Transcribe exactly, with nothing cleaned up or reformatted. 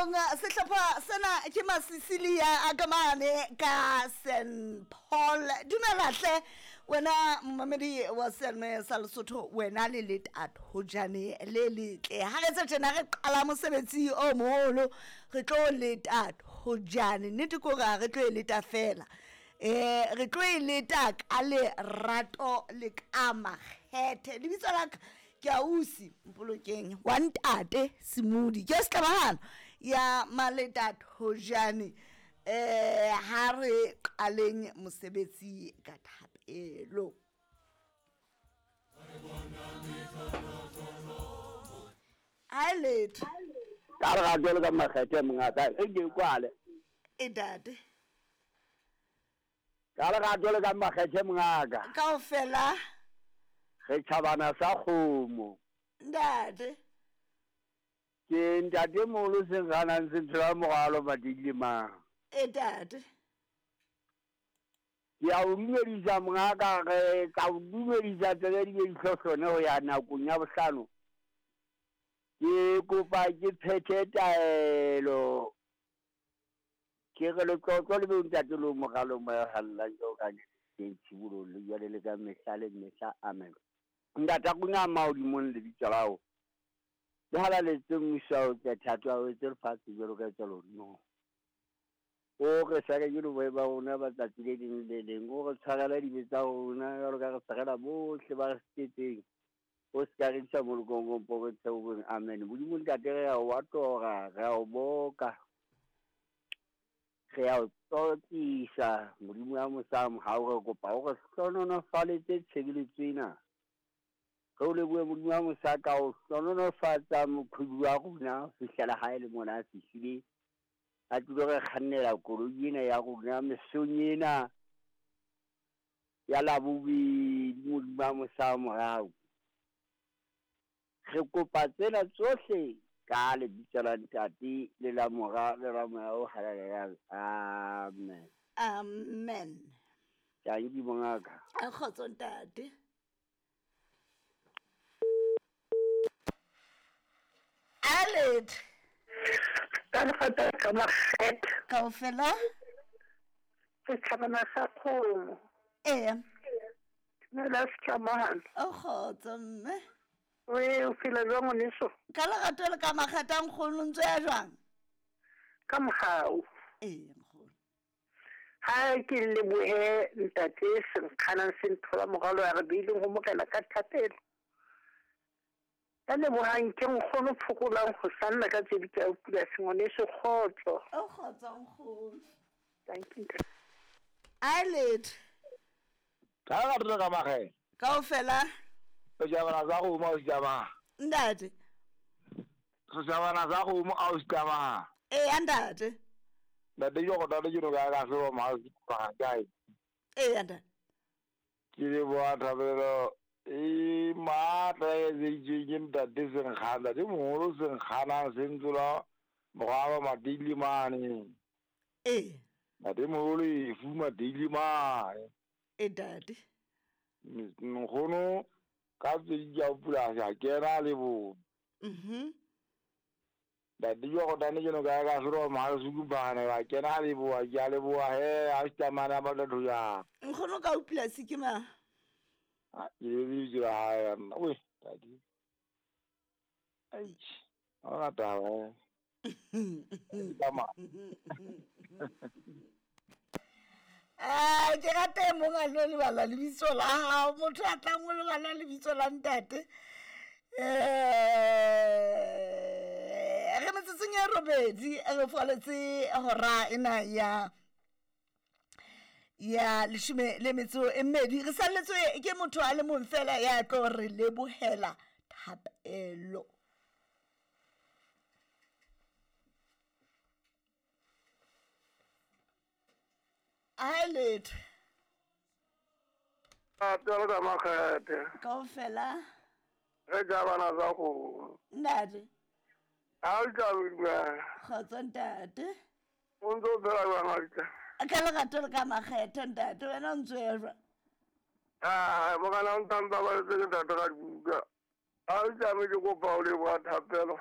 Lenaneong sehlopha sena ke Masisilia a ka mane ka Saint Paul. Dumela hle wena momamedi wa seyalemoya sa Lesotho, wena le letathojane le letle. Ha re tse tjena re qala mosebetsi o moholo, re tlo letathojane. Nnete ke hore ha re tlo e leta fela, eh re tlo e leta ka lerato le ka makgethe. Lebitso la ka ke ausi Mpolokeng wa ntate Semudi, ke setlabahano ya maletathojane. Eh ha re qaleng mosebetsi ka thapelo. Ha letho ka lerato le ka makgethe mongaka e ke kwale e date ka lerato le ka makgethe mongaka kaofela re tjhabana sa kgomo ntate ke ntate moholo seng ganang se ntshela moralo matedile mang e tate ke a o dumedisa mongaka re ka o dumedisa tsebe di be dihlohlone ho ya nakong ya bohlano. Ke kopa ke phethe taelo ke re letlotlo le be ntate lo moralo moya hallang jo ka teng tshibolong le jwale le ka mehla le mehla. Amen. Ntata rona mahodimong lebitso la hao le halaletse mmuso wa hao tle thato ya hao etse lefatshe jwalo ka etsa lehodimong. O re sare ke boe ba rona ba tsatsi le leng le leng, o re tshwarele dibe tsa rona jwalo ka re tshwarela bohle ba re sitetseng, o se ka re isa molokong o mpo re theoheng. Amen. Modimo ntate re a o atora, re a o boka, re a o tlotlisa. Modimo ya mosa mohau re kopa o re hlohonolofaletse tshebeletso ena. Re o lebohe Modimo ya mosa ka o hlohonolofatsa moqhubi wa rona ho fihlela hae le mona a fihlile, a tlilo re kgannela koloi ena ya rona mesong ena ya Labobedi. Modimo ya mosa morao re kopa tsena tsohle ka lebitso la Ntate le la Mora le la Moya o Halalelang. Amen. Amen. Tanki mongaka. A kgotso ntate. Alet ka lerato le ka makgethe kaofela setjhabana sa kgomo ee dumela setlamahano o kgotso mme oe o phela jwang ngwaneso ka lerato le ka makgethe a nkgono ntse ya jwang ka mohau ee nkgono ha ke lebohe ntate Senkganang se nthola moralo ya re beileng ho morena ka thapelo. Ka lebohang ke nkgono phokolang ho sanna ka tse di ka pula sengwaneso kgotso o kgotso nkgono. Thank you. Alet ka lerato le ka makgethe kaofela setjhabana sa kgomo a o setjhabana ntate setjhabana sa kgomo a o setjhabana ee ntate ntate ke go tate ke no ka ka seo ma kae ee ntate ke leboha thapelo e matla e etseditsweng ke ntate Senkgana ntate moholo Senkganang se ntsola moralo matedile mane ee ntate moholo efu matedile mane e ntate nkgono ka tse di ja polasi a kena le bo mhm ntate ke go tane ke no ka ka sero ma se bana ba kena le bo ke a leboha he a tsamana ba tlo ya nkgono ka polasi ke ma a ke le di la hae nna we ntate ai ona taba tama ah ke rata mong a lo lebala lebitso la hao motho a tlang o lebala lebitso la ntate. Eh re metsotsong ya robedi re faletse hora ena ya ya leshome le metso e mmedi re salletswe ke motho a le mong fela ya tlo re lebohela thapelo. Alet lerato le ka makgethe kaofela re tjhabana sa kgomo ntate ha o tjhabile kgotso ntate o ntso phela jwang ausi ka lerato le ka makgethe ntate wena o ntso ya jwang ah morena o ntantsa ba le ntate ka dibuka ha o tjame ke kopa o leboha thapelo